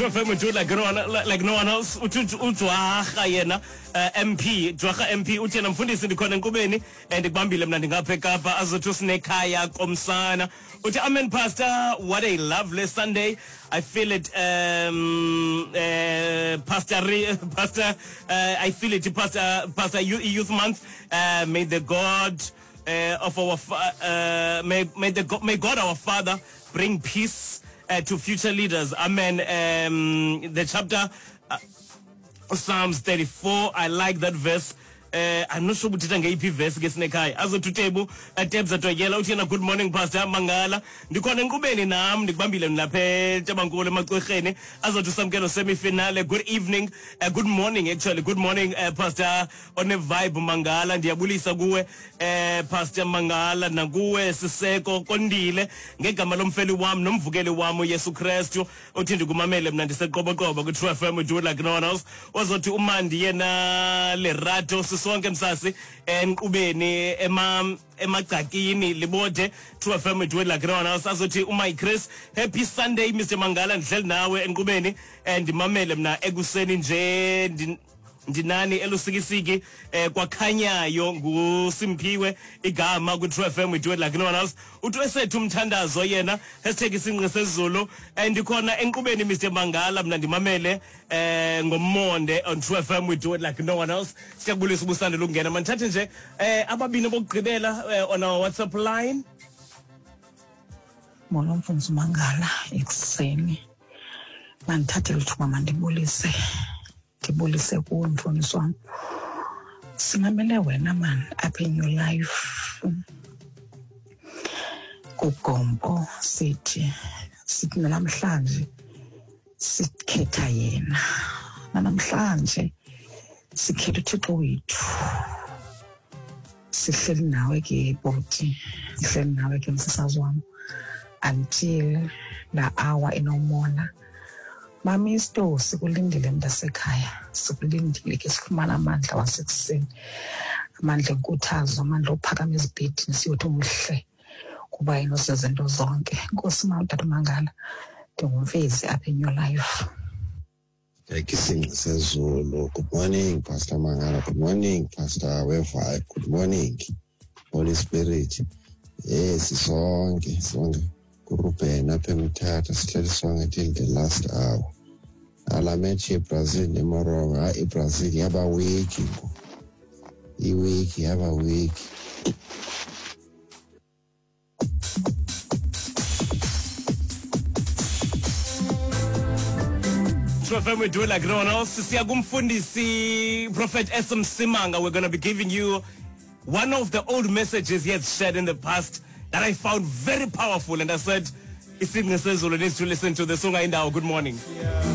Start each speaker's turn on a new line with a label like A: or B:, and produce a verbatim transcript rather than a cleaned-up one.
A: True F M we do it like no one, like no one else. Ujwarha yena M P, Jwarha M P uthi yena mfundisi ndikhona enkqubeni ndikubambile mna ndingapha eKapa azothi usinekhaya komsana. Uthi amen pastor, what a lovely Sunday. I feel it um uh, Pastor Pastor uh, I feel it Pastor Pastor Youth Month. Uh, may the God uh, of our uh, may may the may God our Father bring peace Uh, to future leaders. Amen. Um, the chapter uh, Psalms thirty-four. I like that verse. Uh, I'm not sure uthetha ngeyiphi verse ke sinekhaya. Azothi uTebu Tebza Toyela uthi yena good morning Pastor Mangala. Ndikhona enkqubeni nam ndikubambile lapha eTabankulu emaCwerheni. Azothi uSamkelo semi-finale. Good evening. Uh, good morning actually. Good morning uh, Pastor on a vibe Mangala. Ndiyabulisa kuwe uh, Pastor Mangala nakuwe Siseko Kondile ngegama lomfeli wam nomvukeli wam uYesu Kristu. Uthi ndikumamele mna ndiseqoboqobo ku True F M we do it like no one else. Ozothi uMandi yena Lerato sonke msasi enqubeni ema emagcakini libode True F M we do it like no one else. Azothi uMy Chris happy Sunday Mister Mangala ndihleli nawe enqubeni ndimamele mna ekuseni nje ndinani elusikisiki eh, kwakhanyayo nguSimphiwe igama ku True F M we do it like no one else. Uthi esethu umthandazo yena hashtag isinqe sezulu ndikhona enqubeni Mister Mangala mna ndimamele eh ngomonde on True F M we do it like no one else. Siyakubulisa ubusande lokungena mandithathe nje eh ababini bokugqibela eh, on our WhatsApp line.
B: Molo mfundisi Mangala ekuseni mandithathe lithuba mandibulise ndibulise kuwe mfundisi wam. Simamele wena man apha in your life kuGompo sithi sithi namhlanje sikhetha yena namhlanje sikhetha uThixo wethu. Sihleli nawe ke bhuti, sihleli nawe ke msasazi wam until la hour enomona. Mamisto sikulindile mntasekhaya, sikulindile ke sifumana amandla wasekuseni, amandla enkuthazo, amandla ophakama ezibhedini siyothi umhle kuba yena uzezinto zonke. Nkosi ma utata Mangala, ndingumfezi apha in your life.
C: Isinqe sezulu. Good morning Pastor Mangala, good morning Pastor Wevibe, good morning Holy Spirit. Yes, sonke sonke kuRuben apha eMthatha sihleli sonke till the last hour. Ala match yeBrazil neMorocco, hayi iBrazil yaba weak ngoku, iweak yaba weak.
A: True F M we do it like no one else. Siya kumfundisi Prophet S M Simanga. We're going to be giving you one of the old messages he has shared in the past that I found very powerful, and I said, Isinqe sezulu needs to listen to the song. Good morning.
D: Yeah.